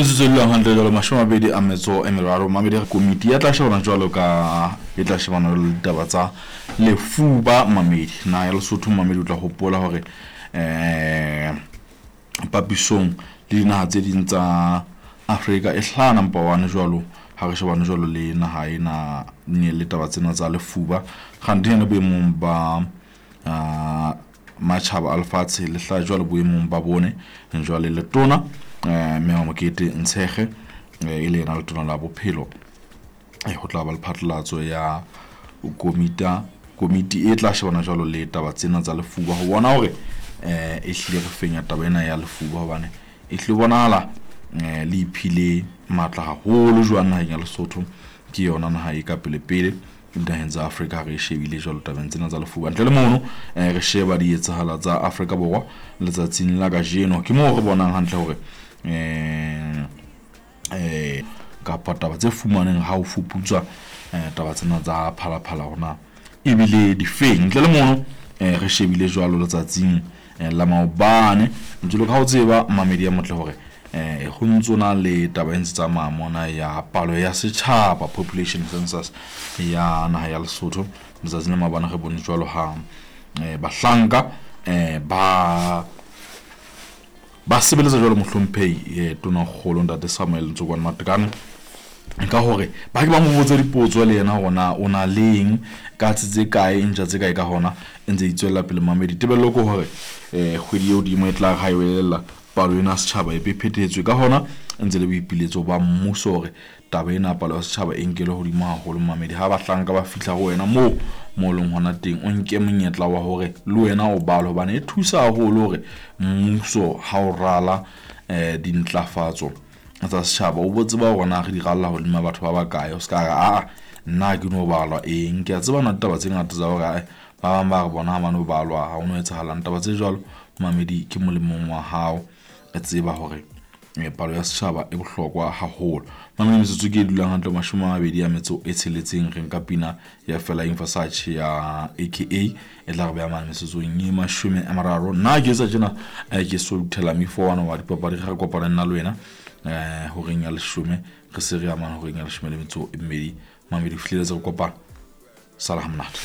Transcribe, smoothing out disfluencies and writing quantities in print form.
Metsotso e dulang hantle jwalo 23 mamedi komiti ya tla shebana jwalo ka e tla shebana le ditaba tsa lefuba mamedi. Naha ya Lesotho mamedi o tla hopola hore papisong le dinaha tse ding tsa Afrika e hlaha number 1 jwalo ha re shebane jwalo le naha ena le taba tsena tsa lefuba. Kganthe yena boemong ba matjhaba a lefatshe le hlaha jwalo boemong ba bone. Jwale letona Mme Mokete Ntshege e le yena letona la bophelo, ho tla ba le phatlalatso ya komiti e tla shebana jwalo le taba tsena tsa lefuba ho bona hore e hlile re fenya taba ena ya lefuba, hobane e hlile bonahala le iphile matla haholo jwang naheng ya Lesotho. Ke yona naha e ka pele pele dinaheng tsa Afrika ha re shebile jwalo tabeng tsena tsa lefuba. Ntle le mono re sheba di etsahala tsa Afrika Borwa letsatsing la kajeno, ke moo re bonang hantle hore kapa taba tse fumaneng ha o fuputswa taba tsena tsa Phalaphala hona ebile difeng. Ntle le mono re shebile jwalo letsatsing la maobane, jwalo ka ha o tseba mamedi ya motle hore ho ntso na le taba e ntse tsamaya mona ya palo ya setjhaba, population census ya naha ya Lesotho. Letsatsing la maobane re bone jwalo ha bahlanka ba sebeletsa jwalo mohlomphehi Tonakgolo Ntate Samuel Ntsokwane Matekane ka hore ba ke ba mo botse dipotso le yena hore na o na leng ka tse kae, ntja tse kae ka hona e ntse e tswella pele mamedi. Tebello ke hore kgwedi eo hodimo e tla ha e welella palo ena setjhaba e be phethetswe, ka hona ntse le boipiletso ba mmuso hore taba ena palo ya setjhaba e nkelwe hodimo haholo mamedi. Ha bahlanka ba fihla ho wena moo mo leng hona teng, o nke monyetla wa hore le wena o bale, hobane e thusa haholo hore mmuso ha o rala dintlafatso tsa setjhaba o bo tseba hore na re di ralla hodima batho ba bakae. O ska re aa nna ke no balwa eng, ke a tseba na ditaba tse ngata tsa hore ba bang ba re bona ha ba no balwa ha ho no etsahalang. Taba tse jwalo mamedi ke molemong wa hao, e tseba hore palo ya setjhaba e bohlokwa haholo. Mamedi metsotso ke e dulang hantle 26 re nka pina ya Fela Versace ya AKA e tla re beha mane metsotsong e 30. Nna ke etsa tjena ke soluthela mifo wana wa dipapadi, re kopana nna le wena horeng ya 10 re se re ya mane horeng ya 12. Mamedi fihleletse re kopana, sala ha monate.